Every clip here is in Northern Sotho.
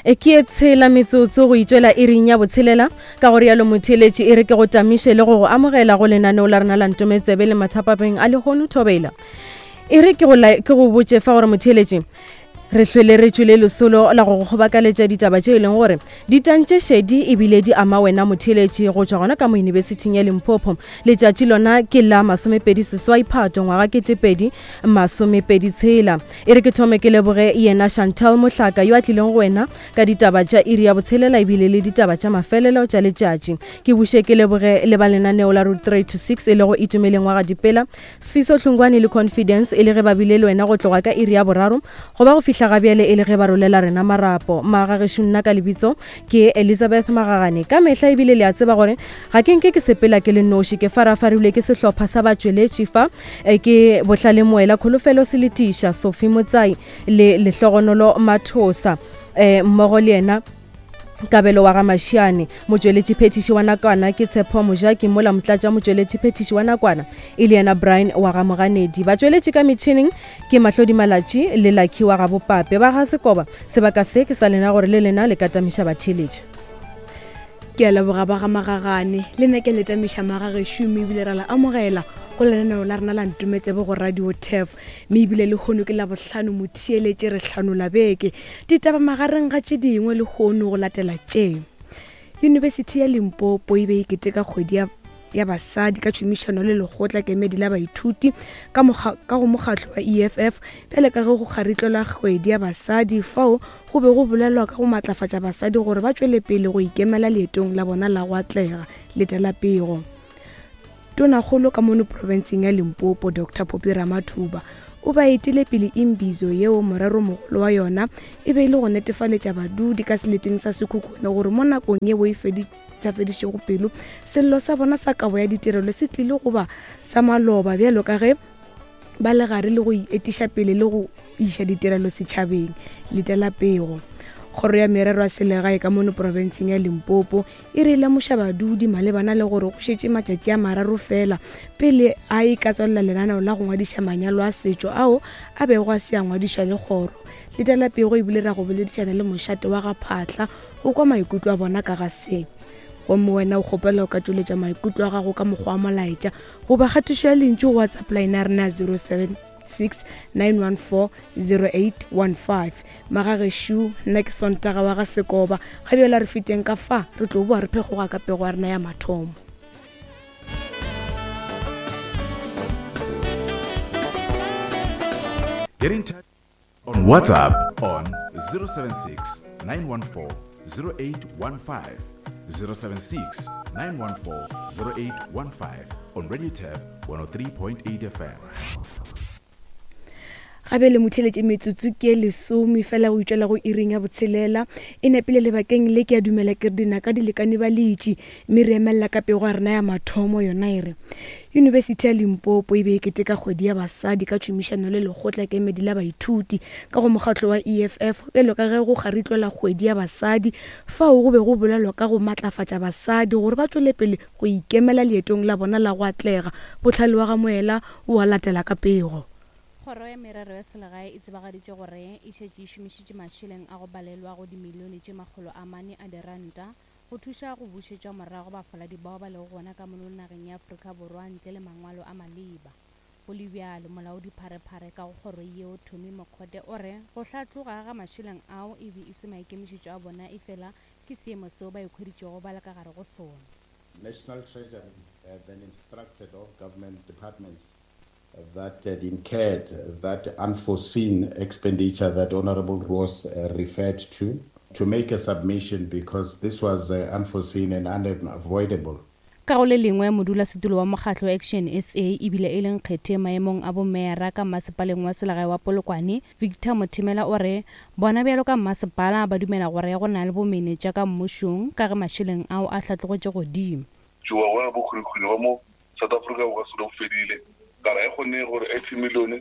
E ke e tshela metsotso go itšwela iring ya botshelela ka go rialo motheeletši e re ke go tamiše le go go amogela go lenaneo la rena la ntometsebe le mathapapeng a lehono thobela e re ke go, ke go botše fa gore motheeletši re hlwele re tšwele lesolo la go go kgobakaletša ditaba tše e leng gore di tantše šedi ebile di ama wena motheeletši go tšwa gona ka mo yunibesithing ya limpopo letšatši lona ke la 28 phato ngwaga 2026 E re ke thome ke leboge yena Chantal Mohlaka yo a tlileng go wena ka ditaba tša iri ya botshelela ebile le ditaba tša mafelelo tša letšatši. Ke buše ke leboge le ba lenaneo la Route 3 to 6 e lego Itumeleng wa ga Dipela, Sfiso Hlungwane le Confidence e le ge ba bile le wena go tloga ka iri ya boraro go ba go fihla ga bjale e le ge ba rolela rena marapo. Magagešo nna ka lebitso ke Elizabeth Magagane. Ka mehla ebile le a tseba gore ga ke nke ke sepela ke le noši, ke farafarilwe ke sehlopha sa batšweletši fa E ke Bohlale Moela, Kholofelo Seletiša, Sophie Motsai le Lehlogonolo Mathosa e mmogo le yena Kabelo wa ga Mashiane. Motšweletši phethiši wa nakwana ke Tshepo Mojaki mola motlatša motšweletši phethiši wa nakwana e le yena Brian wa ga Moganedi. Batšweletši ka metšhineng ke Mahlodi Malatši le Lucky wa ga Bopape. Ba ga Sekoba, sebaka se ke sa lena gore le lena le ka tamiša batheeletši. Ke a leboga ba ga Magagane, le nna ke le tamiša magagešo mme ebile ra le amogela go lenaneo la rena la Ntometsebe go Radio Turf. Mme ebile lehono ke Labohlano motheeletše re hlanola beke. Ditaba magareng ga tše dingwe lehono go latela tše. Yunibesithi ya Limpopo e be e keteka kgwedi ya ya basadi ka tšhomišano le lekgotla kemedi la baithuti ka, ka go mokgatlo wa EFF bjale ka ge go kgaritlelwa kgwedi ya basadi fao go be go bolelwa ka go matlafatša basadi gore ba tšwele pele go ikemela leetong la bona la go atlega. Letela pego. Tonakgolo ka mono profenseng ya Limpopo Dr Phophi Ramathuba o ba etile pele imbizo yeo moreromogolo wa yona e be e le go netefaletša badudi ka seleteng sa Sekhukhune gore mo nakong yeo e sa fedišego pelo sello sa bona sa kabo ya ditirelo se tlile go ba sa maloba bjalo ka ge ba le gare le go etiša pele le go iša ditirelo setšhabeng. Letela pego. Kgoro ya Merero ya Selegae ka mono profenseng ya Limpopo e re lemoša badudi malebana le gore go šetše matšatši a mararo fela pele a e ka tswalela lenaneo la go ngwadiša manyalo a setšo ao a bego a se a ngwadišwa le kgoro. Letela pego ebile ra go boledišana le mošate wa ga Phaahla go kwa maikutlo a bona ka ga se. Gomme wena o kgopela o ka tšweletša maikutlo a gago ka mokgwa wa molaetša goba kgatišo ya lentšu go WhatsApp line ya rena ya 0769140815. Magagešo, nna ke Sontaga wa ga Sekoba. Ga bjale a re feteng ka fa, re tlo boa re phekgoga ka pego ya rena ya mathomo. Get in touch on WhatsApp on 076 914 0815. 076 914 0815 on Radio Tab 103.8 FM. Gabe le motheletše metsotso ke lesome fela go itšwela go iring ya botshelela e nepile lebakeng le ke a dumela ke re dinaka di lekane ba letši mme re emelela ka pego ya rena ya mathomo yona e re Yunibesithi ya Limpopo e be e keteka kgwedi ya basadi ka tšhomišano le lekgotla kemedi la baithuti ka go mokgatlo wa EFF bjalo ka ge go kgaritlelwa kgwedi ya basadi fao go be go bolelwa ka go matlafatša basadi gore ba tšwele pele go ikemela leetong la bona la go atlega. Bohlale wa ga Moela o a latela ka pego. Kgoro ya Merero ya Selegae e tsebagaditše gore e šetše e šomišitše mašeleng a go balelwa go dimilione tše 400 a diranta Go thuša go bušetša morago bafaladi bao ba lego gona ka mono nageng ya Afrika Borwa ntle le mangwalo a maleba. Go le bjalo, molaodi-pharephare ka go kgoro yeo, Tommy Mokgote o re go hlatloga ga mašeleng ao e be e se maikemišetšo a bona efela ke seemo seo ba ikhweditšego ba le ka gare go sona. National Treasury then instructed all government departments that had incurred that unforeseen expenditure that Honorable Roos referred to, to make a submission because this was unforeseen and unavoidable. Ka go le lengwe, modulasetulo wa mokgatlo Action SA ebile e le nkgethe maemong a bomeyara ka mmasepaleng wa selegae wa Polokwane, Victor Mothemela o re bona bjalo ka mmasepala ba dumela gore go na le bomenetša ka mmušong ka ge mašeleng ao a hlatlogetše godimo. Tšowa gona bokgwirikgwiri ba mo South Africa bo ka se bo fedile. Ka re ga e kgonege gore 80 million e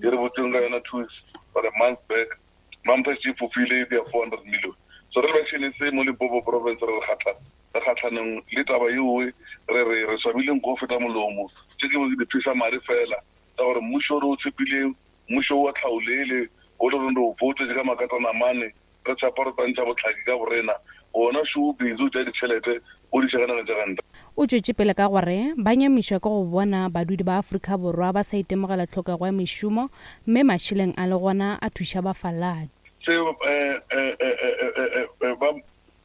re botseng ka yona 2 weeks or a month back, Mampa e fofile e dia 400 million. So re le ba Action SA mo Limpopo province re re kgatha re kgatlhanong le taba yeoe, re re re swabile nko go feta molomo. Tše ke di pheša mare fela ka gore mmušo o re o tshepileng, mmušo wa tlhaolele o le reng re o voutetše ka makatanamane. Re tšhapa re tantšha bohlaki ka borena, gona šo o busy o tšea ditšhelete o di iša ka nageng tša ka ntle. O tšwetše pele ka gore ba nyamišwa ke go bona badudi ba Afrika Borwa ba sa itemogela tlhokego ya mešomo mme mašeleng a le gona a thuša bafaladi. Se ba ba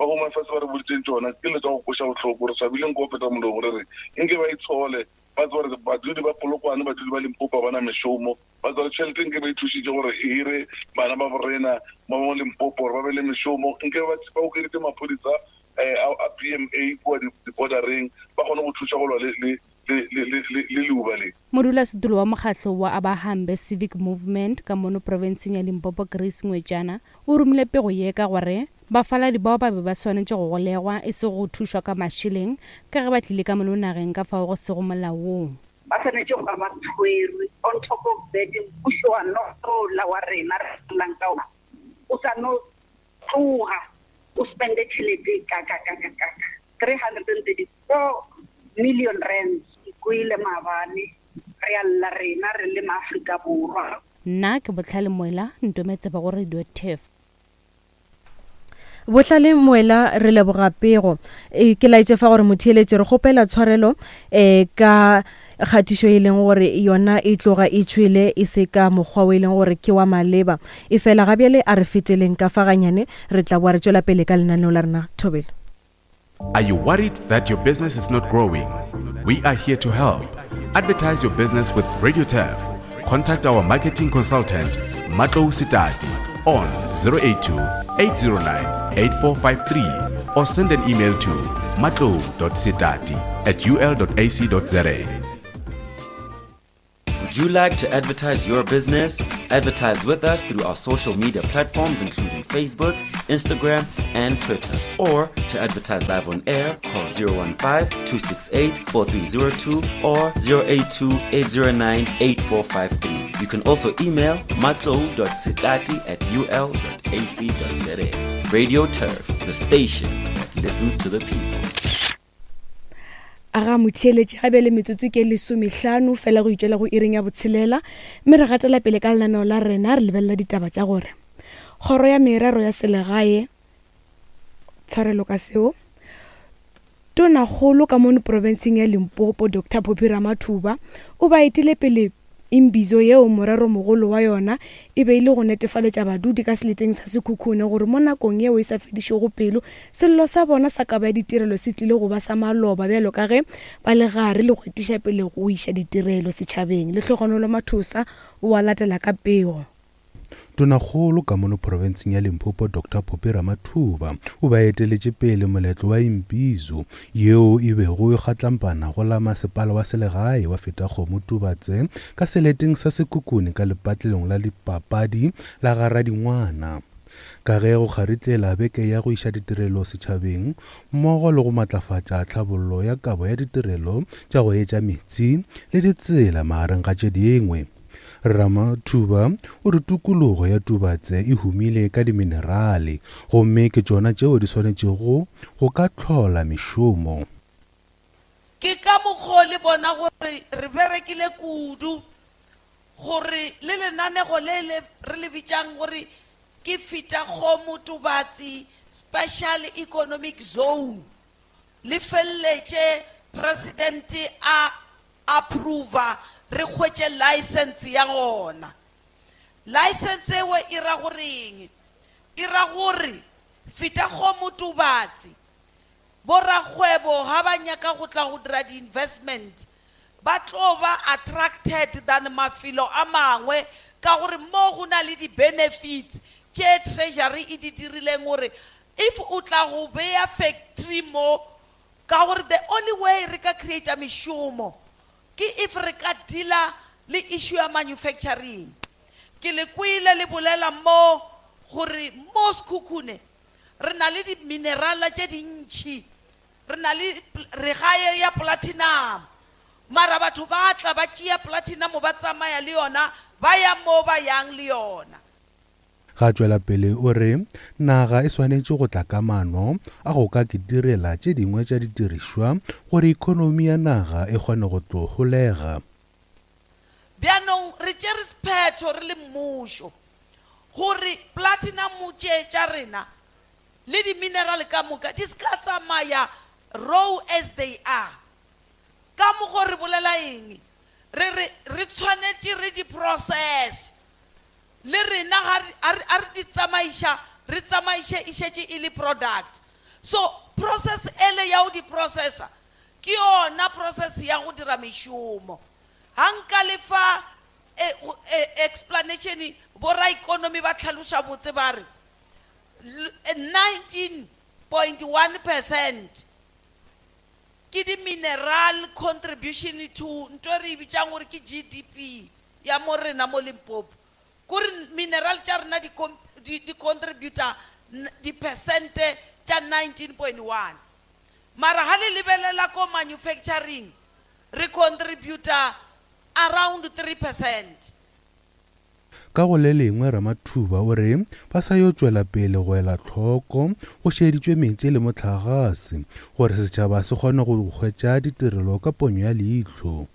Home Affairs ba re boditšeng tšona ke dilo tša go kweša bohloko. Re swabile nko go feta molomo re re nke ba itshole, ba tsebe gore badudi ba Polokwane, badudi ba Limpopo ga ba na mešomo. Ba tswa le tšhelete nke ba ithušitše gore e hire bana ba borena ba mo Limpopo gore ba be le mešomo. Nke ba ba okeditše maphodisa a a BMA kua di-bordereng ba kgone go thuša go lwa le le le le le le le leuba le. Modulasetulo wa mokgatlo wa Abahambe Civic Movement ka mono profenseng ya Limpopo Grace Ngwetšana o romile pego ye ka gore bafaladi bao ba be ba swanetše go golegwa e sego go thušwa ka mašeleng ka ge ba tlile ka mono nageng ka fao go sego molaong. Ba swanetše go ba ba tshwerwe. On top of that, mmušo wa nola wa rena re phelang ka ona o sa no tloga o spende tšhelete e kakakakakaka, 334 million rands. Ke kwele maabane re a lla rena re le maAfrika Borwa. Nna ke Bohlale Moela, Ntometsebe go Radio Turf. Bohlale Moela re leboga pego. E, ke laetše fa gore motheeletši re kgopela tshwarelo e, ka kgatišo e leng gore yona e tloga e tšwele e se ka mokgwa o e leng gore ke wa maleba. E fela ga bjale a re feteleng ka fa ganyane re tla boa re tšwela pele ka lenaneo la rena. Thobela. Are you worried that your business is not growing? We are here to help. Advertise your business with Radio Turf. Contact our marketing consultant, Matlo Sitati, on 082 809 8453 or send an email to matlo.sitati at ul.ac.za. Would you like to advertise your business? Advertise with us through our social media platforms, including Facebook, Instagram, and Twitter. Or to advertise live on air, call 015 268 4302 or 082 809 8453. You can also email matlo.sitati at ul.ac.za. Radio Turf, the station that listens to the people. A ga motheeletši ga bjale metsotso ke lesomehlano fela go itšwela go iring ya botshelela mme re gatela pele ka lenaneo la rena re lebelela ditaba tša gore kgoro ya merero ya selegae tshwarelo ka seo tonakgolo ka mono profenseng ya limpopo dr phophi ramathuba o ba etile pele Imbizo yeo moreromogolo wa yona e be e le go netefaletša badudi ka seleteng sa Sekhukhune gore mo nakong yeo e sa fedišego pelo, sello sa bona sa kabo ya ditirelo se tlile go ba sa maloba bjalo ka ge ba le gare le go etiša pele go iša ditirelo setšhabeng. Lehlogonolo Mathosa o a latela ka pego. Tonakgolo ka mono profenseng ya Limpopo Doctor Phophi Ramathuba o be a eteletše pele moletlo wa Imbizo yeo e bego e kgatlampana go la masepala wa selegae wa Fetakgomo Tubatse ka seleteng sa Sekhukhune ka lepatlelong la dipapadi la ga Radingwana. Ka ge go kgaritlela beke ya go iša ditirelo setšhabeng mmogo le go matlafatša tlhabollo ya kabo ya ditirelo tša go etša meetse le ditsela magareng ga tše dingwe. Ramathuba o re tokologo ya Tubatse e humile ka diminerale gomme ke tšona tšeo di swanetšego go ka hlola mešomo. Ke ka mokgo le bona gore re berekile kudu gore le lenanego le le re le bitšang gore ke Fetakgomo Tubatse Special Economic Zone le feleletše Presidente a approva re hwetše license ya gona. License ewe e ra goreng? E ra gore Fetakgomo Tubatse borakgwebo ga ba nyaka go tla go dira di-investment ba tlo ba attracted than mafelo a mangwe ka gore mo go na le di-benefits tše treasury e di dirileng gore if o tla go beya factory mo Ka gore the only way re ka creata mešomo ke if re ka dealer le issue ya manufacturing. Ke le kwele le bolela mo gore mo Sekhukhune re na le di-mineral tše dintši, re na le regae ya platinum, mara batho ba tla ba tšea platinum ba tsamaya le yona ba ya mo ba yang le yona. Ga tšwela pele o re naga e swanetše go tla ka maano a go ka kitirela tše dingwe tša didirišwa gore ekonomi ya naga e kgone go tlo holega. Bjanong re tšere sephetho re le mmušo. Gore platinum tše tša rena le di-mineral ka moka di se ka tsamaya raw as they are. Ka mokgo re bolela eng? Re re re tshwanetše re di process. Le rena ga re, a re, a re di tsamaiša, re tsamaiše e šetše e le product. So process ele ya go di processa ke yona process ya go dira mešomo. Ga nka le fa e, e, explanation, bo raekonomi ba hlaloša botse ba re 19.1 percent ke di-mineral contribution to ntho e re e bitšang gore ke GDP ya mo rena mo Limpopo. Kore mineral tša rena di, di, di contributa dipersente tša 19.1. Mara ga le lebelela ko manufacturing re contributa around 3%. Ka go le lengwe Ramathuba o re ba sa yo tšwela pele go ela hloko go šeditšwe meetse le mohlagase gore setšhaba se kgone go hwetša ditirelo ka ponyo ya leihlo.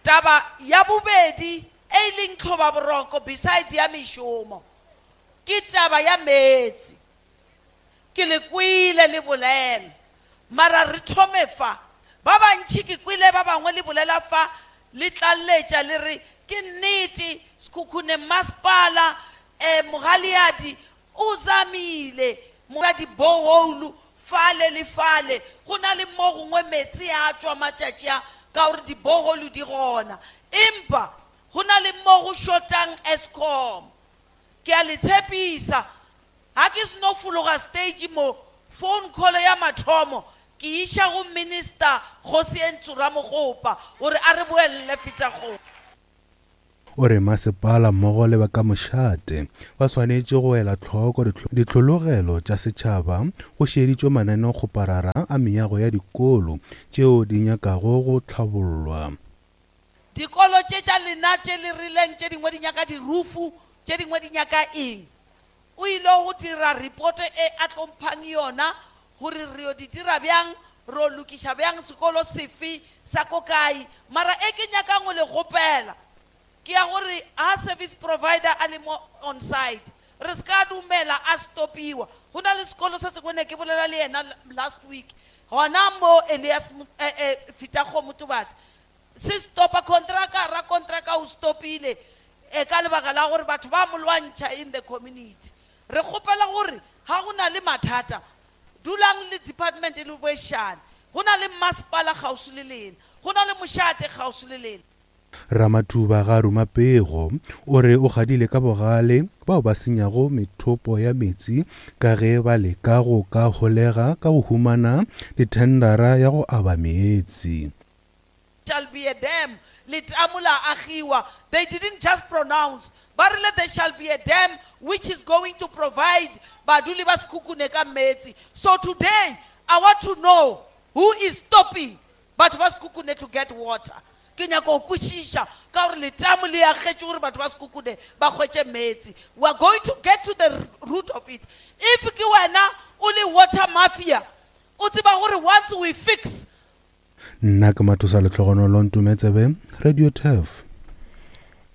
Taba ya bobedi e e leng tlhobaboroko besides ya mešomo ke taba ya meetse. Ke le kwele le bolela, mara re thome fa. Ba bantši ke kwele ba bangwe le bolela fa le tlalletša le re ke nnete Sekhukhune masepala um Mogaleadi o zamile mora di-borehole fale le fale, go na le mo gongwe meetse a tšwa matšatši a ka gore di-borehole di gona, empa go na le mo go shotang Eskom. Ke a le tshepisa, ga ke seno fologa stage mo, phone call ya mathomo ke iša go Minister Kgosientsho Ramokgopa gore a re boelele Fetakgomo. O re masepala mmogo le ba ka mošate ba swanetše go ela hloko dihlologelo tša setšhaba go šeditšwe mananeokgoparara a meago ya dikolo tšeo di nyakago go hlabollwa. Dikolo tše tša lena tše le rileng tše dingwe di nyaka dirufu, tše dingwe di nyaka eng. O ile go dira reporto e a tlo mphang yona gore re yo di dira bjang, re yo lokiša bjang sekolo sefe sa ko kae. Mara e ke nyakang go le kgopela ke ya gore ha service provider a le mo on site, re se ka dumela a stopiwa. Go na le sekolo se sengwe ne ke bolela le yena last week gona mo Elias Fetakgomo Tubatse, se stopa kontraka, rakontraka o stopile e ka lebaka la gore batho ba mo lwantšha in the community. Re kgopela gore ga go na le mathata, dulang le department le boešane. Go na le masepala kgauswi le lena, go na le mošate kgauswi le lena. Ramathuba ga a ruma pego, o re o kgadile ka bogale bao ba senyago methopo ya meetse ka ge ba leka go ka holega ka go humana dithendara ya go aba meetse. Shall be a dam, letamo la agiwa. They didn't just pronounce, ba rile there shall be a dam which is going to provide baduli ba Sekhukhune ka meetse. So today, I want to know who is stopping batho ba Sekhukhune to get water. Ke nyaka go kwešiša ka gore letamo le agetšwe gore batho ba Sekhukhune ba hwetše meetse. We are going to get to the root of it. If ke wena o le water mafia, o tseba gore once we fix Nna ke Mathosa Lehlogonolo Ntometsebe, Radio Turf.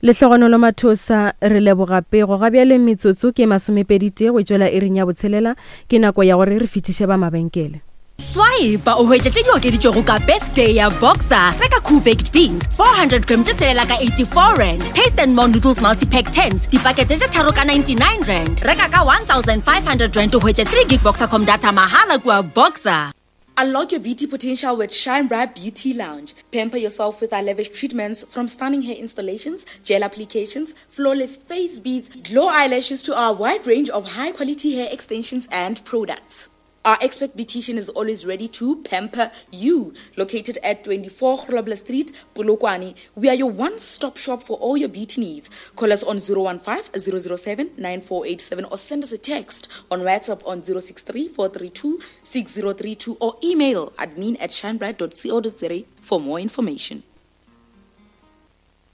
Lehlogonolo Mathosa, re leboga pego. Ga bjale metsotso ke masomepeditee go tšwela iring ya botshelela. Ke nako ya gore re fetiše ba mabenkele. Swipe o hwetša tše di okeditšwego ka birthday ya Boxer. Reka Cool Baked Beans 400 gram tše tshelela ka 84 rand. Taste and More Noodles Multipack 10s dipakete tše tharo ka 99 rand. Reka ka 1500 rand o hwetše 3 gig Boxercom data mahala kua Boxer. Unlock your beauty potential with Shine Bright Beauty Lounge. Pamper yourself with our lavish treatments from stunning hair installations, gel applications, flawless face beads, glow eyelashes to our wide range of high quality hair extensions and products. Our expert beautician is always ready to pamper you. Located at 24 Grobler Street, Polokwane, we are your one-stop shop for all your beauty needs. Call us on 015 007 9487 or send us a text on WhatsApp on 063 432 6032 or email admin at shinebright.co.za for more information.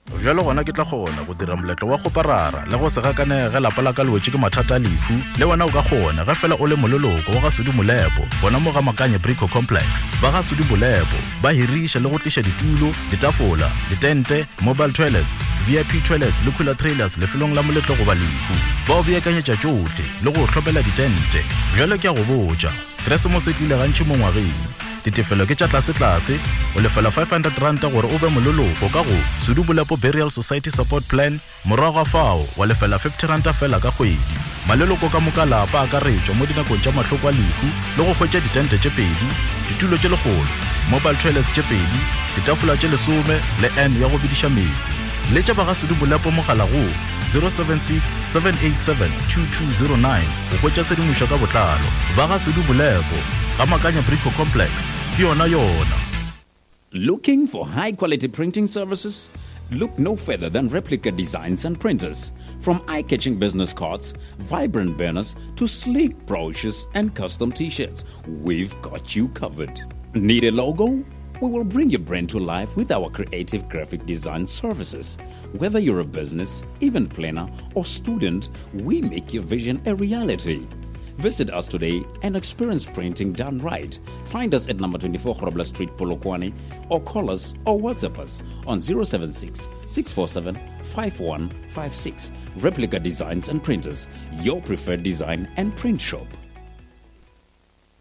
Bjalo gona ke tla kgona go dira moletlo wa kgoparara le go se gakanege ge lapa la ka le wetše ke mathata a lehu. Le wena o ka kgona ge fela o le moleloko wa ga Sudi Molepo gona mo ga Makanye Brico Complex. Ba ga Sudi Molepo ba hiriša le go tliša ditulo, ditafola, ditente, mobile toilets, VIP toilets le cooler trailers lefelong la moletlo goba lehu. Ba o beakanyetša tšohle le go o hlomela ditente. Bjalo ke a go botša, Keresemose e tlile gantši mo ngwageng. Ditefelo ke tša tlasetlase, o lefela R500 gore o be moleloko ka go Sedubolepo Burial Society Support Plan, morago ga fao wa lefela R50 feela ka kgwedi. Maleloko ka moka a lapa a akaretšwa mo dinakong tša mahloko a lehu le go hwetša ditente tše pedi, ditulo tše lekgolo, mobile toilets tše pedi, ditafola tše lesome le urn ya go bediša meetse. Letša ba ga Sedubolepo mogala go 076 787 2209 go hwetša tshedimošo ka botlalo. Ba ga Sedubolepo. Ga Makanya Brico Complex, ke yona yona. Looking for high quality printing services? Look no further than Replica Designs and Printers. From eye catching business cards, vibrant banners, to sleek brochures and custom t shirts, we've got you covered. Need a logo? We will bring your brand to life with our creative graphic design services. Whether you're a business, event planner, or student, we make your vision a reality. Visit us today and experience printing done right. Find us at number 24 Grobler Street, Polokwane, or call us or WhatsApp us on 076 647 5156. Replica Designs and Printers, your preferred design and print shop.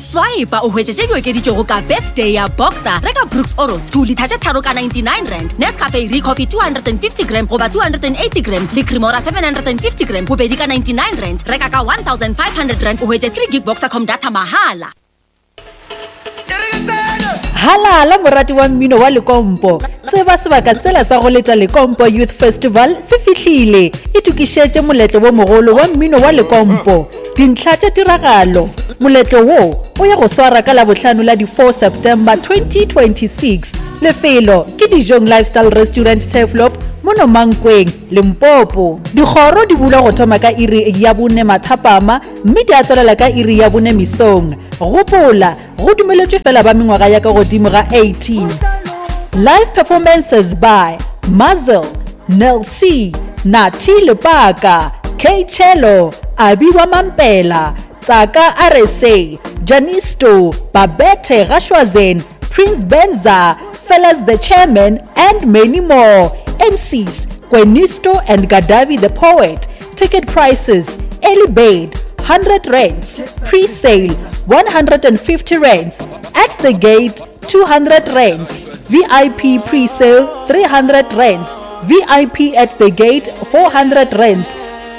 Swipe o hwetše tše di okeditšwego ka birthday ya Boxer. Reka Brooks Oros 2 litha tše tharo ka 99 rand, Nescafe Recoffee 250 gram goba 280 gram le Cremora 750 gram bobedi ka 99 rand. Reka ka 1500 rand o hwetše 3 gig Boxercom data mahala. Halala morati wa mmino wa Lekompo. Tseba sebaka sela sa go leta Lekompo Youth Festival se fihlile. Itokišetše moletlo wo mogolo wa mmino wa Lekompo. Dintlha tša tiragalo, Moletlo wo o ya go swara ka Labohlano la di 4 September 2026. Lefelo ke Dijong Lifestyle Restaurant Turfloop mono Mankweng, Limpopo. Dikgoro di bulwa go thoma ka iri ya bone mathapama mme di a tswalela ka iri ya bone mesong. Gopola, go dumeletšwe fela ba mengwaga ya ka godimo ga 18. Live performances by Muzzle, Nel C, Nathi Lepaka, K Chelo, Abi wa Mampela, Tsaka RSA, Janisto, Babette Gashwazen, Prince Benza, Fellas the Chairman, and many more. MCs, Kwenisto and Gadavi the Poet. Ticket prices, early bird, 100 rands, pre-sale, 150 rands, at the gate, 200 rands, VIP pre-sale, 300 rands, VIP at the gate, 400 rands.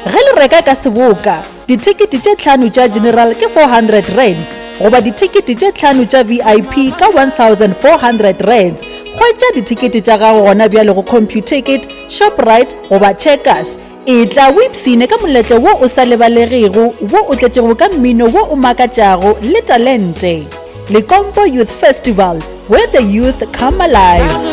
Ge le reka ka seboka, dithekete tše tlhano tša general ke 400 rands goba dithekete tše tlhano tša VIP ka 1400 rands. Hwetša dithekete tša gago gona bjale go Computicket, Shoprite goba Checkers. Etla o ipshine ka moletlo wo o sa lebalegego wo o tletšego ka mmino wo o makatšago le talente. Lekompo Youth Festival, where the youth come alive.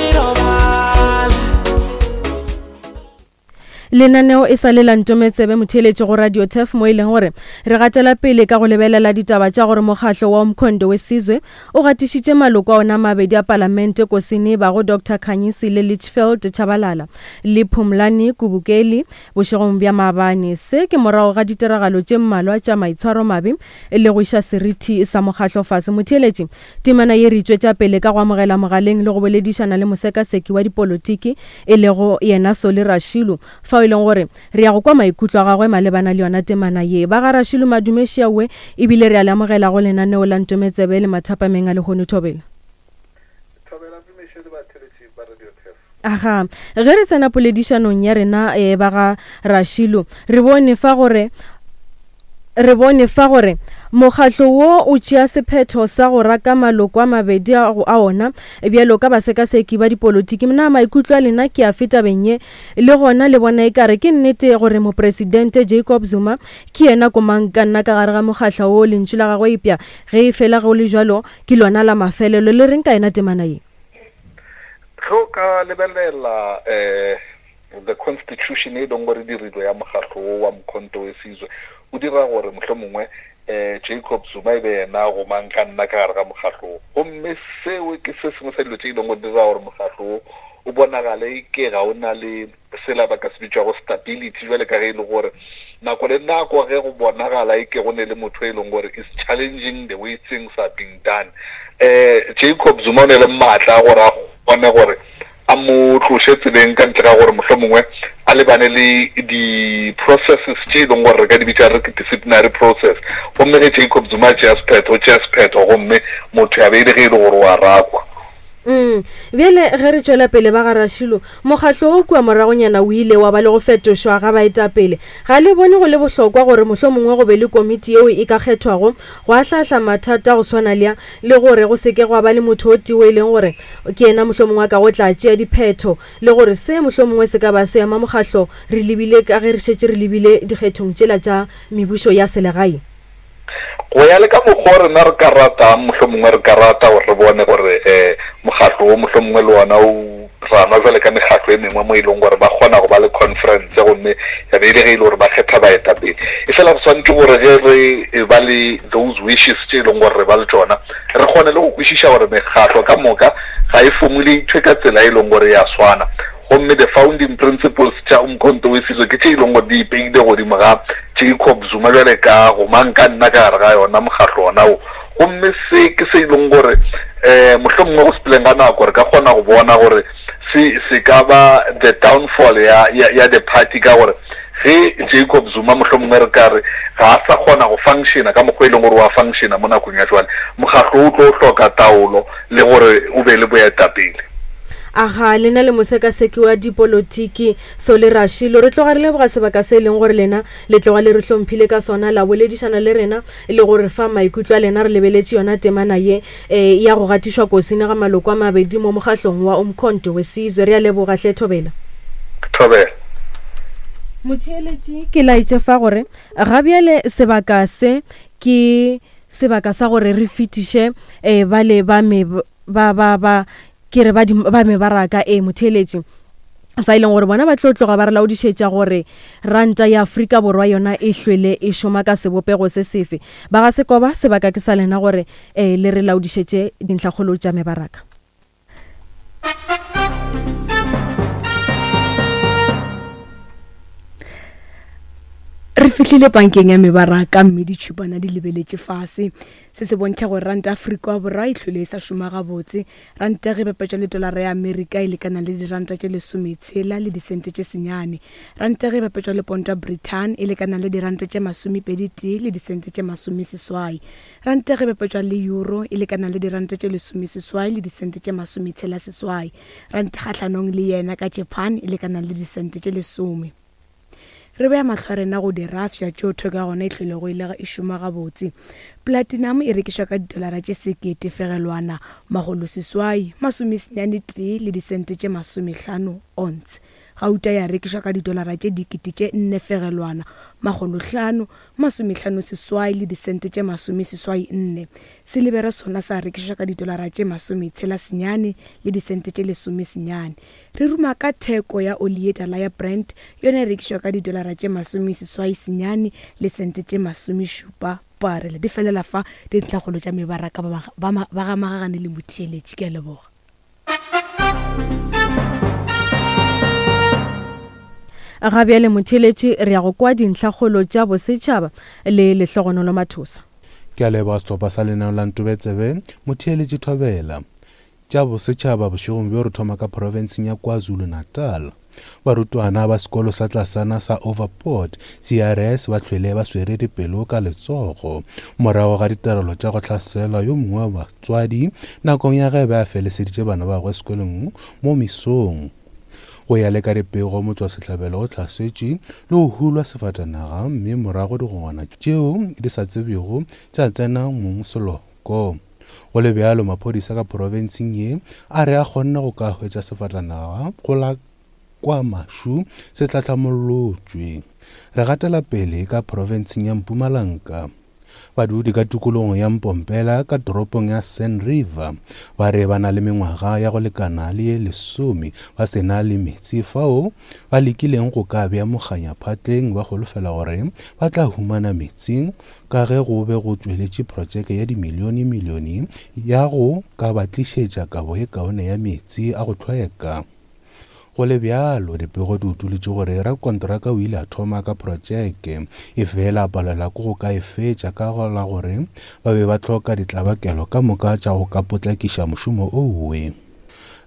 Lenaneo e sa le la Ntometsebe motheeletši go Radio Turf mo e leng gore re gatela pele ka go lebelela ditaba tša gore mokgahlo wa Umkhonto we Sizwe o gatišitše maloko a ona a mabedi a palamente Kosini bago Doctor Khanyisile Litchfield Tshabalala le Phumlani Kubukeli bošegong bja maabane. Se ke morago ga ditiragalo tše mmalwa tša maitshwaromabe le go iša seriti sa mokgahlo fase. Motheeletši, temana ye re e tšwetša pele ka go amogela mogaleng le go boledišana le mosekaseki wa dipolotiki e lego yena Solly Rashilu fao e leng gore Re ya go kwa maikutlo a gagwe malebana le yona temana ye. Ba ga Rashilu Madume Šiaoe ebile re a le amogela go lenaneo la Ntometsebe le mathapameng a lehono Thobela. Thobela Mmiše le batheeletši ba Radio Turf. Aga, ge re tsena poledišanong ya rena e, ba ga Rashilu, re bone fa gore Re bone fa gore mokgatlo wo o tšea sephetho sa go raka maloko a mabedi a a ona bjalo ka basekaseki ba dipolotiki. Na maikutlo a lena ke afe tabeng ye? Le gona le bona ekare ke nnete gore Mopresidente Jacob Zuma ke yena komangkanna ka gare ga mokgatlo wo? Lentšu la gagwe epša ge e fela go le bjalo ke lona la mafelelo. Le reng ka yona temana ye? Ge o ka lebelela um The Constitution e leng gore dirilwe ya mokgahlo wo wa Mkhonto we Sizwe o dira gore mohlomongwe um Jacob Zuma e be yena gomang ka nna ka gare ga mokgahlo wo. Gomme seo ke se sengwe sa dilo tše e leng gore di dira gore mokgahlo wo o bonagale e ke ga o na le sela ba ka se bitšago stability, bjale ka ge e le gore nako le nako ge go bonagala e ke go ne le motho e leng gore is challenging the way things are being done, um Jacob Zuma o ne le maatla a gore a kgone gore a mo tloše tseleng ka ntle ga gore mohlomongwe a lebane le di-processes tše e leng gore re ka di bitša re ke disciplinary process. Gomme ge Jacob Zuma a tšea sephetho, o tšea sephetho gomme motho ya be e le ge e le gore o a rakwa. Mm. Bjale ge re tšwela pele ba ga Rašilo, mokgatlo wo kua moragonyana o ile wa ba le go fetošwa ga baetapele. Ga le bone go le bohlokwa gore mohlomongwe go be le komiti yeo e ka kgethwago go ahlaahla mathata go swana le a, le gore go se ke gwa ba le motho o tee o e leng gore ke yena mohlomongwe a kago tla tšea diphetho, le gore se mohlomongwe se ka ba se ama mokgatlo re lebile ka ge re šetše re lebile dikgethong tšela tša mebušo ya selegae? Go ya le ka mokgwa o rena re ka ratang, mohlomongwe re ka rata gore re bone gore um mokgatlo wo mohlomongwe le wona o ranwa jwale ka mekgatlo e mengwe mo e leng gore ba kgona go ba le conference gomme ya be e le ge e le gore ba kgetha baetapele. Efela re swanetše gore ge re e ba le those wishes tše e leng gore re ba le tšona, re kgone le go kwešiša gore mekgatlo ka moka ga e formulate-we ka tsela e leng gore e a swana. Gomme the founding principles tša Umkhonto we Sizwe ke tše e leng gore di ipeile godimo ga Jacob Zuma bjale ka gomang ka nna ka gare ga yona mokgahlo wona wo. Gomme se ke se e leng gore um mohlomongwe go sepeleng ga nako re ka kgona go bona gore se se ka ba the downfall ya, ya, ya the party ka gore ge Jacob Zuma mohlomongwe re ka re ga a sa kgona go functiona ka mokgwa e leng gore wa functiona mo nakong ya jwale, mokgahlo o tlo hloka taolo le gore o be le boetapele. Aga, lena le mosekaseki wa dipolotiki Solly Rashilo, re tloga re leboga sebaka se e leng gore lena le tloga le re hlomphile ka sona, la boledišana le rena le go re fa maikutlo a lena re lebeletše yona temana ye e, ya go gatišwa kosini ga maloko a mabedi mo mokgahlong wa Umkhonto we Sizwe. Re a leboga hle, Thobela. Thobela. Motheeletši, ke laetše fa gore ga bjale sebaka se ke sebaka sa gore re fetiše eh, bale ba me ba ba ba ke re ba di ba mebaraka e motheeletši fa e leng gore bona ba tlo tloga ba re laodišetša gore ranta ya Afrika Borwa yona e hlwele e šoma ka sebopego se sefe. Ba ga Sekoba sebaka ke sa lena gore eh, le re laodišetše dintlhakgolo tša mebaraka. Re fihlile pankeng ya mebaraka mme ditšhupana di lebeletše fase. Se se bontšha gore ranta Afrika Borwa e hlwele e sa šoma gabotse. Ranta ge e bapetšwa le tolara ya Amerika e lekana le diranta tše lesometshela le disente tše senyane. Ranta ge e bapetšwa le ponto ya Britain e lekana le diranta tše masomepedi-tee le disente tše masomeseswai. Ranta ge e bapetšwa le euro e lekana le diranta tše lesomeseswai le disente tše masometshela-seswai. Ranta kgahlanong le yena ka Japan e lekana le disente tše lesome. Re bea mahlo a rena go dirafša tšeo theko ya gona e hlwelego e le e šoma gabotse. Platinum e rekišwa ka ditolara tše sekete fegelwana makgoloseswai masomesenyane tee le disente tše masomehlano ounce. Gauta ya rekišwa ka ditolara tše dikete tše nne fegelwana makgolohlano masomehlano seswai le disente tše masomeseswai nne. Silibere sona sa rekišwa ka ditolara tše masometshela senyane le disente tše lesomesenyane. Re ruma ka theko ya oli ye tala ya Brent, yona e rekišwa ka didolara tše masomeseswai senyane le sente tše masomešupa parele. Di felela fa dintlhakgolo tša mebaraka ba, ba, ba ga Magagane le Motheeletši. Ke a leboga. Ga bjale Motheeletši re ya go kwa dintlhakgolo tša bosetšhaba le Lehlogonolo Mathosa. Ke a leboga sehlopha sa lenaneo la Ntobetsebe, Motheeletši Thobela. Tša bosetšhaba bošegong bjo re thoma ka profenseng ya KwaZulu-Natal. Barutwana ba sekolo sa tlasana sa Overport CRS ba hlwele ba swere dipelo ka letsogo morago ga ditirelo tša go hlaselwa yo mongwe wa batswadi nakong ya ge be a feleseditše bana ba gagwe sekolong mo mesong. Go ya le ka dipego, motšwasehlabelo o hlasetšwe le go hulwa sefatanaga mme morago digongwana tšeo di sa tsebjego tša tsena mong seloko. Go le bjalo, maphodisa ka profenseng ye a re a kgonne go ka hwetša sefatanaga go la kwa Mashu se tlahlamolotšwe. Re gatela pele ka profenseng ya Mpumalanga. Badudi ka tikologong ya Mpompela ka toropong ya Sand River ba re ba na le mengwaga ya go lekana le ye lesome ba se na le meetse fao ba lekileng go ka bea mokganya phatleng ba holofela gore ba tla humana meetse ka ge go be go tšweletše protšeke ya dimilionemilione ya go ka ba tlišetša kabo ye kaone ya meetse a go hlweka. Go le bjalo, dipego di utolotše gore rakonteraka o ile a thoma ka protšeke, efela a palelwa ke go ka e fetša ka la gore ba be ba hloka ditlabakelo ka moka tša go ka potlakiša mošomo owe.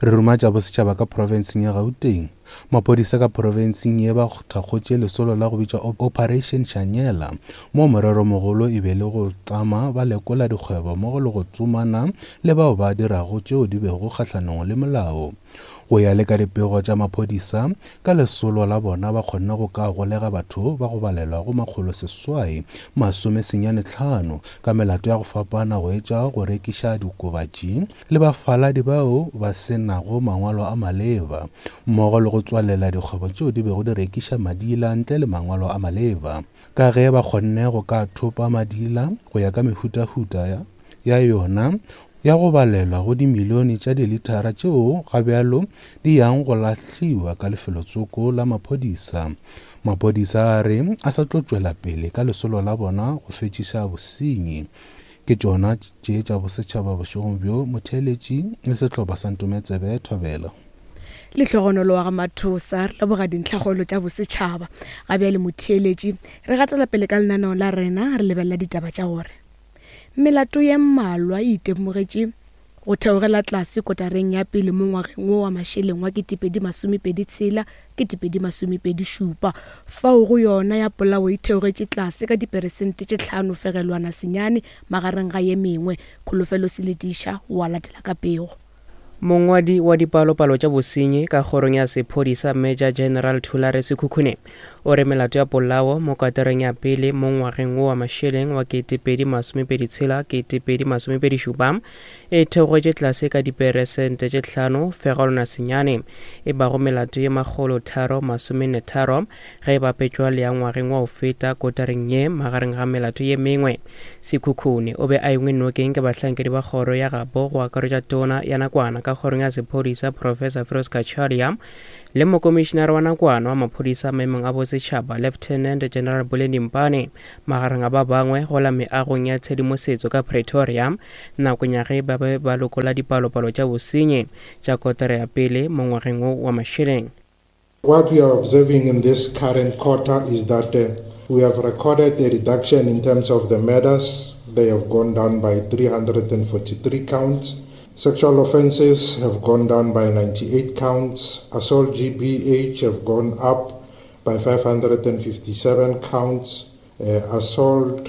Re ruma tša bosetšhaba ka profenseng ya Gauteng. Maphodisa ka profenseng ye ba thakgotše lesolo la go bitšwa Operation Shanyela, moo moreromogolo e be le go tsama ba lekola dikgwebo mmogo le go tsomana le bao ba dirago tšeo di bego kgahlanong le molao. Go ya le ka dipego tša maphodisa, ka lesolo la bona ba kgonne go ka golega batho ba go balelwa go 895 ka melato ya go fapana go etša go rekiša diokobatši le bafaladi bao ba se nago mangwalo a maleba mmogo le go tswalela dikgwebo tšeo di bego di rekiša madila ntle le mangwalo a maleba ka ge ba kgonne go ka thopa madila go ya ka mehutahuta ya yona ya go balelwa go dimilione tša dilithara tšeo ga bjalo di yang go lahliwa ka lefelotsoko la maphodisa. Maphodisa a re a sa tlo tšwela pele ka lesolo la bona go fetšiša bosenyi. Ke tšona tše tša bosetšhaba bošegong bjo, motheeletši le sehlopha sa Ntometsebe Thobela. Lehlogonolo wa ga Mathosa, re leboga dintlhakgolo tša bosetšhaba. Ga bjale motheeletši, re gatela pele ka lenaneo la rena, re lebelela ditaba tša gore Melato ye mmalwa e itemogetše go theogela tlase kotareng ya pele mo ngwageng wo wa mašeleng wa 2026, 2027, fao go yona ya polao e theogetše tlase ka diperesente tše 5.9 magareng ga ye mengwe. Kholofelo Seletiša o a latela ka pego. Mongwadi wa dipalopalo tša bosenyi ka kgorong ya sephodisa Major General Thulare Sekhukhune o re melato ya polao mo katareng ya pele mo ngwageng wo wa mašeleng wa 2026 2027 e theogetše tlase ka diperesente tše 5.9 e bago melato ye 343 ge e bapetšwa le ya ngwageng wa go feta kotareng ye magareng ga melato ye mengwe. Sekhukhune o be a engwe nokeng ke bahlankedi ba kgoro ya gabo go akaretša tona ya nakwana ka kgorong ya sephodisa Professor Firoz Cachalia le mokomišenare wa nakwana wa maphodisa maemong a bosetšhaba Lieutenant General Buleni Mpane magareng a ba bangwe go la meagong ya tshedimosetso ka Pretoria nakong ya ge ba be ba lokola dipalopalo tša bosenyi tša kotara ya pele mo ngwageng wo wa mašeleng. What we are observing in this current quarter is that uh, we have recorded a reduction in terms of the murders. They have gone down by 343 counts. Sexual offenses have gone down by 98 counts. Assault GBH have gone up by 557 counts. Uh, assault,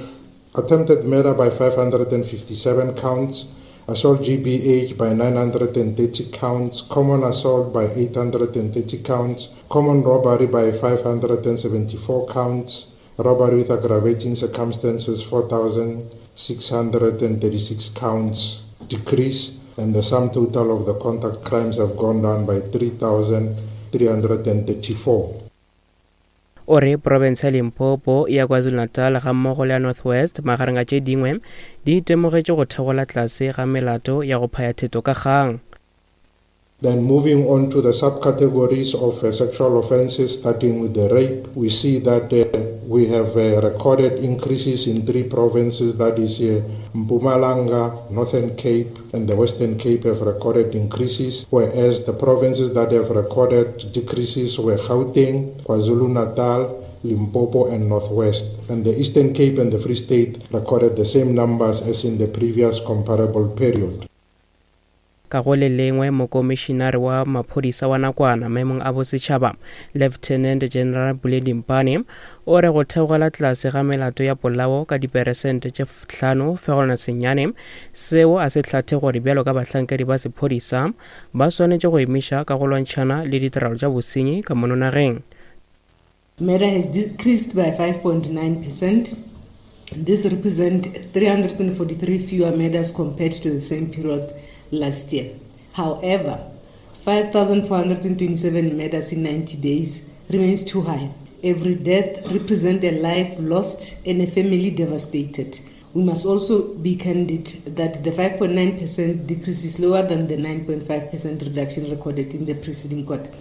attempted murder by 557 counts assault GBH by 930 counts, common assault by 830 counts, common robbery by 574 counts, robbery with aggravating circumstances 4,636 counts decrease, and the sum total of the contact crimes have gone down by 3,334. O re profense ya Limpopo, ya KwaZulu-Natal gammogo le ya North West magareng a tše dingwe di itemogetše go theola tlase ga melato ya go phaya theto ka kgang. Then moving on to the subcategories of uh, sexual offences, starting with the rape, we see that uh, we have uh, recorded increases in three provinces, that is uh, Mpumalanga, Northern Cape, and the Western Cape have recorded increases, whereas the provinces that have recorded decreases were Gauteng, KwaZulu-Natal, Limpopo and Northwest. And the Eastern Cape and the Free State recorded the same numbers as in the previous comparable period. Ka go le lengwe, Mokomišinare wa Maphodisa wa nakwana maemong a bosetšhaba, Lieutenant General Buledi Mpane, o re go theogela tlase ga melato ya polao ka diperesente tše 5.9 seo a se hlathe gore bjalo ka bahlankedi ba sephodisa ba swanetše go emiša ka go lwantšhana le ditiragalo tša bosenyi ka mono nageng. Murder has decreased by 5.9 percent. This represents 343 fewer murders compared to the same period last year. However, 5,427 murders in 90 days remains too high. Every death represents a life lost and a family devastated. We must also be candid that the 5.9% decrease is lower than the 9.5% reduction recorded in the preceding quarter.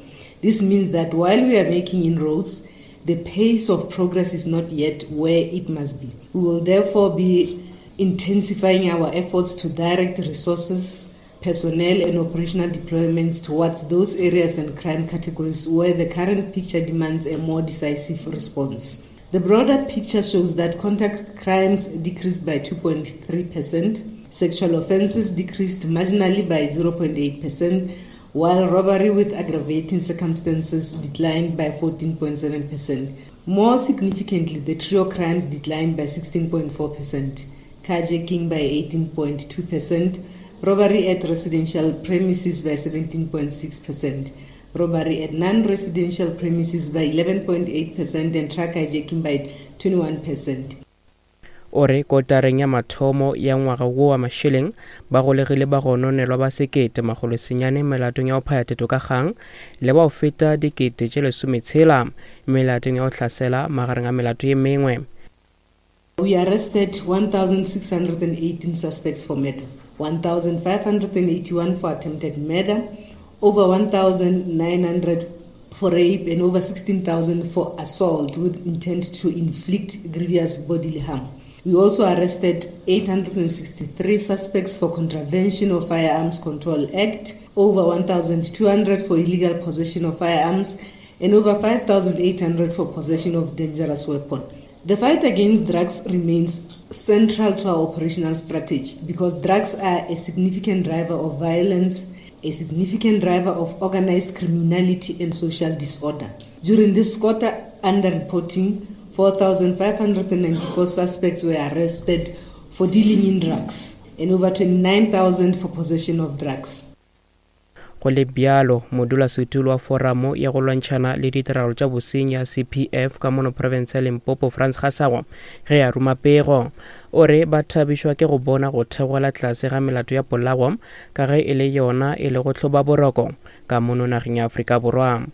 This means that while we are making inroads, the pace of progress is not yet where it must be. We will therefore be intensifying our efforts to direct resources, personnel and operational deployments towards those areas and crime categories where the current picture demands a more decisive response. The broader picture shows that contact crimes decreased by 2.3%, sexual offences decreased marginally by 0.8%, while robbery with aggravating circumstances declined by 14.7%. More significantly, the trio crimes declined by 16.4%, carjacking by 18.2%, robbery at residential premises by 17.6%, robbery at non-residential premises by 11.8% and truck hijacking by 21%. O re kotareng ya mathomo ya ngwaga wo wa mašeleng ba golegile bagononelwa ba 1900 melatong ya go phaya theto ka kgang le ba go feta 60,000 melatong ya go hlasela magareng a melato ye mengwe. We arrested 1,618 suspects for murder, 1,581 for attempted murder, over 1,900 for rape and over 16,000 for assault with intent to inflict grievous bodily harm. We also arrested 863 suspects for contravention of Firearms Control Act, over 1,200 for illegal possession of firearms, and over 5,800 for possession of dangerous weapon. The fight against drugs remains central to our operational strategy because drugs are a significant driver of violence, a significant driver of organized criminality and social disorder. During this quarter under reporting, 4,594 suspects were arrested for dealing in drugs and over 29,000 for possession of drugs. Go le bjalo, modulasetulo wa Foramo ya go lwantšhana le ditiragalo tša bosenyi ya CPF ka mono profense ya Limpopo Frans Gasago ge a ruma pego o re ba thabišwa ke go bona go theogela tlase ga melato ya polao ka ge e le yona e lego tlhobaboroko ka mono nageng ya Afrika Borwa.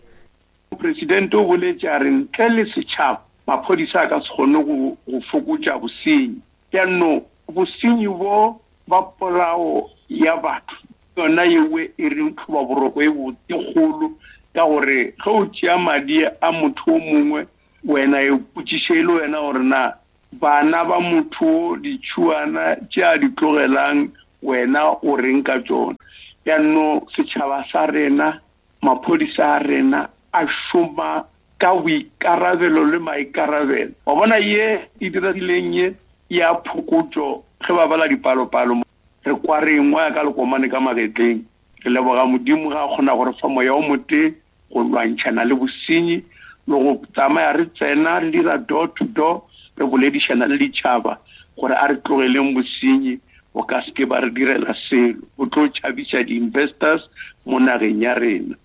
Mopresidente o boletše a re ntle le setšhaba maphodisa a ka se kgone go go fokotša bosenyi. Bjano bosenyi bo ba polao ya batho ke yona yewe e reng tlhobaboroko e botse kgolo ka gore ge o tšea madi a motho o mongwe wena e potšiše e le wena gore na bana ba motho o ditšhuana tše a di tlogelang wena o reng ka tšona. Bjano setšhaba sa rena Maphodisa a rena a šoma ka boikarabelo le maikarabelo. Wa bona ye e diregileng ye ya phokotšo ge ba bala dipalopalo re kwa re engwaya ka lekomane ka magetleng. Re leboga Modimo ge a kgona go re fa moya o motee go lwantšhana le bosenyi le go tsamaya re tsena re dira door to door re boledišana le ditšhaba gore a re tlogeleng bosenyi bo ka se ke ba re direla selo, bo tlo tšhabiša di-investors mo nageng ya rena.